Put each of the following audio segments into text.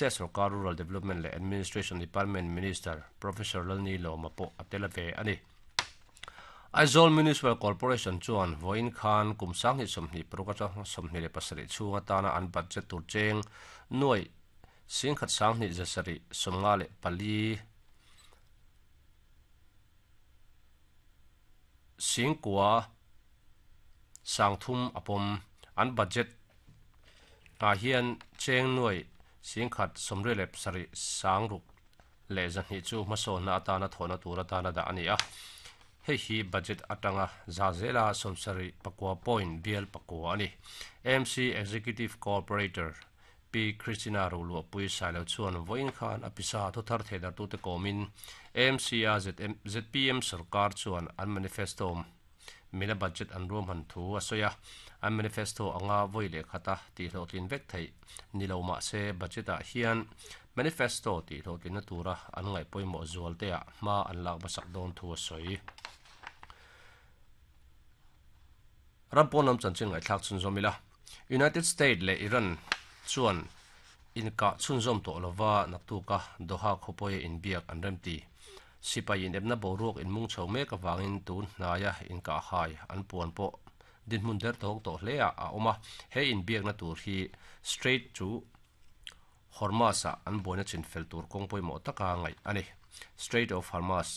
State sorkar Rural Development leh Administration Department Minister Professor Lalni Lawma pawh a tel ve a ni. Aizawl Municipal Corporation chuan vawiin khan kum 2026 atanga 27 chhung atana an budget tur cheng nuaih singkhat sanghnih zasarih 54 singkua sangthum a pawm. An budget ah hian cheng nuaih singkhat 87 sangruk leh 200 chu hmasawnna atana thawhna tur atana dah a ni a. Hei hi budget atanga za zela 79 point bial pakua a ni. AMC Executive Cooperator Pi Christina Roluahpui Sailo chuan vawiin khan a pisa thuthar theidartute kawmin AMC a ZPM sorkar chuan an manifesto mila budget an ruahman thu a sawi a. An manifesto anga vawi leh khata tihhlawhtlin vek theih ni lo mah se budget ah hian manifesto tihhlawhtlinna tura an ngaih pawimawh zual te ah hma an lak hmasak dawn thu a sawi. Ram pawn lam chanchin ngaihthlak chhunzawm ila, United State leh Iran chuan inkah chhunzawm tawh lova naktuka Doha khawpawia inbiak an remti. Sipai inepna boruak inmung chho mek avangin tun hnaia inkah hai an puan pawh dinhmun der tawk tawh hle ah a awm a, he inbiakna tur hi Strait chu Hormuz-ah an buaina chinfel tur kawng pawimawh taka ngaih a ni. Strait of Hormuz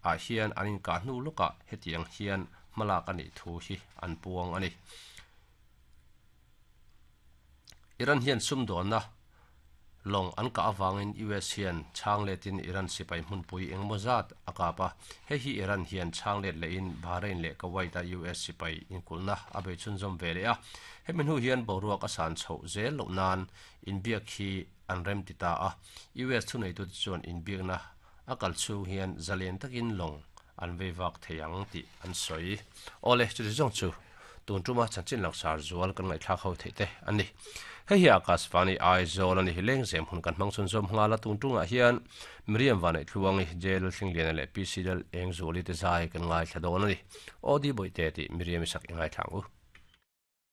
ah hian an inkah hnu lawkah hetiang hian hmalak a nih thu hi an puang a ni. Iran hian sumdawnna lawng an kah avangin US hian chhang letin Iran sipai hmunpui engemaw zat a kap a, hei hi Iran hian chhang let lehin Bahrain leh Kuwait-a US sipai inkulhna a bei chhunzawm ve leh a. Hemi hnu hian boruak a san chhoh zel loh nan inbiak hi an rem ti ta a, US thuneitute chuan inbiakna a kal chhung hian zalen takin lawng an vei vak thei ang tih an sawi. Awle, chuti zawng chu tun tuma chanchin langsar zual kan ngaihthlak ho theih te an ni. Hei hi Akashvani Aizawl a ni. Lengzem hun kan hmang chhunzawm nghal a, tun tungah hian Miriam Vaneihtluangi, Jail Thlingliana leh PC Lal Engzuali te zai kan ngaithla dawn a ni. Aw Di Bawihte tih Miriam i sak i ngaithla ang u.